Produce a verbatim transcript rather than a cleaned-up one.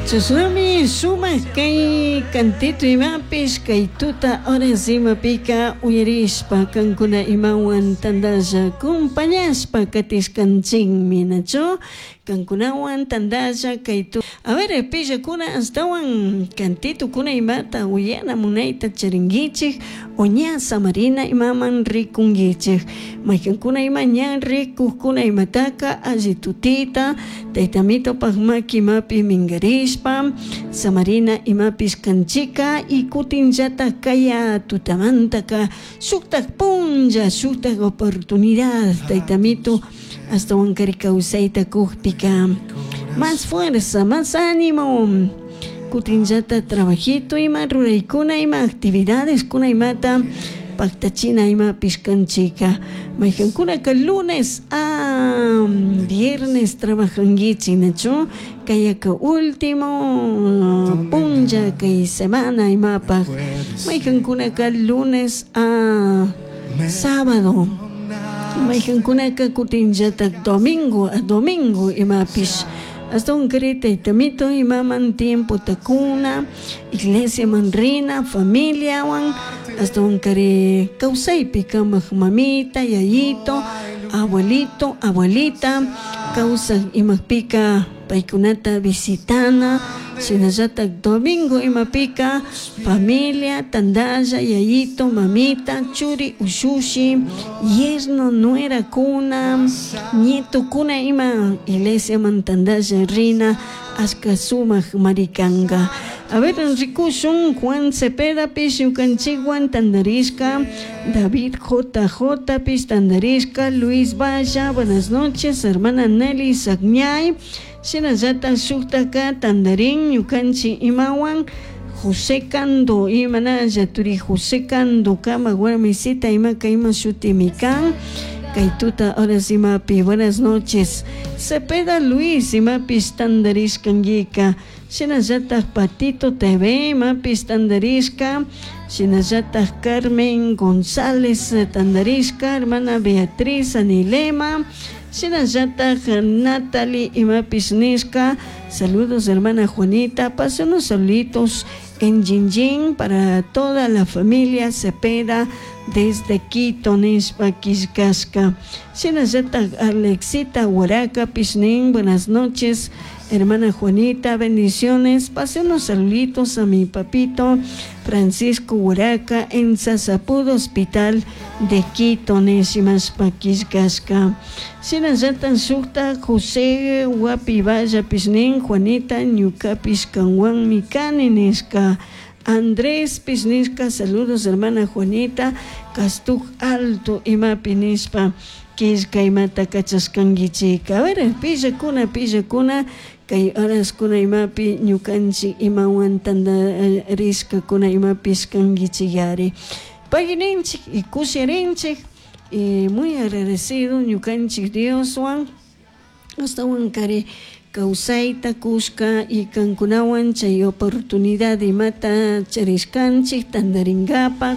Chashnami sumak kay kantito imapish kay tuta horas imapika uyarishpa kankuna imawan tandalla compañashpa katishkanchikmi, nachu kankunawan tandalla kay tu. A ver, pillakuna astawan kantitukuna imata uyana munayta charinkichik o ña samarina imaman rikunkichik, maykankuna ima ña rikukkuna imataka alli tutita taytamitopak maki imapi minkarishpa samarina imapish kanchika y kutinllatak kaya tutamantaka shuktak punlla shuktak oportunidad taytamito astawankari kawsayta kukpika más fuerza, más ánimo, kutinllata trabajito ima ruraykuna ima actividades kuna imata paktachina imapish kanchika, maykankunaka lunes a viernes trabajankichik, nachu kayaka último punlla kay semana imapak, maykankunaka lunes a sábado, maykankunaka kutinllatak domingo a domingo imapish, astawan kari taytamito imaman tiempo takuna iglesiaman rina familiawan astawan kari kawsaypi kamak mamita, yayito, abuelito, abuelita kawsak imapika paykunata visitana, shinallatak domingo imapika familia tandalla yayito, mamita, churi, ushushi, yerno, nuerakuna, nietokuna ima iglesiaman tandalla rina ashka sumak marikanka. A ver, rikushun Juan Cepeda pish ñukanchikwan tandarishka, David J J pish tandarishka, Luis Valla, buenas noches, hermana Nelly Sagñay, shinallatak shuktaka tandarin ñukanchik imawan José Cando imanalla turi José Cando kama warmisita imaka ima shutimi kan kay tuta horas imapi, buenas noches, Cepeda Luis imapish tandarishkankika, shinallatak Patito T V imapish tandarishka, shinallatak Carmen González tandarishka, hermana Beatriz Anilema, shinallatak Natalie imapish nishka, saludos, hermana Juanita, pase unos saluditos en Jinjin para toda la familia Cepeda desde Quito nishpa killkashka, shinallatak Alexita Huaraca pishnin, buenas noches, hermana Juanita, bendiciones, pase unos saluditos a mi papito Francisco Huaraca en Sasapudo Hospital de Quito nishimashpa killkashka, shinallatak shukta José Guapivalla pishnin, Juanita, ñukapish kanwanmi kani nishka, Andrés Pisnisca, saludos, hermana Juanita, Castuj Alto imapi nishpa killka imata kachashkankichik. A ver, pillakuna pillakuna kay horaskuna imapi ñukanchik imawan tandarishkakuna imapish kankichik, pagininchik y kushirinchik y muy agradecido ñukanchik Dioswan astawan kari kawsayta kushka y kankunawan chay oportunidad imata charishkanchik tandarinkapak.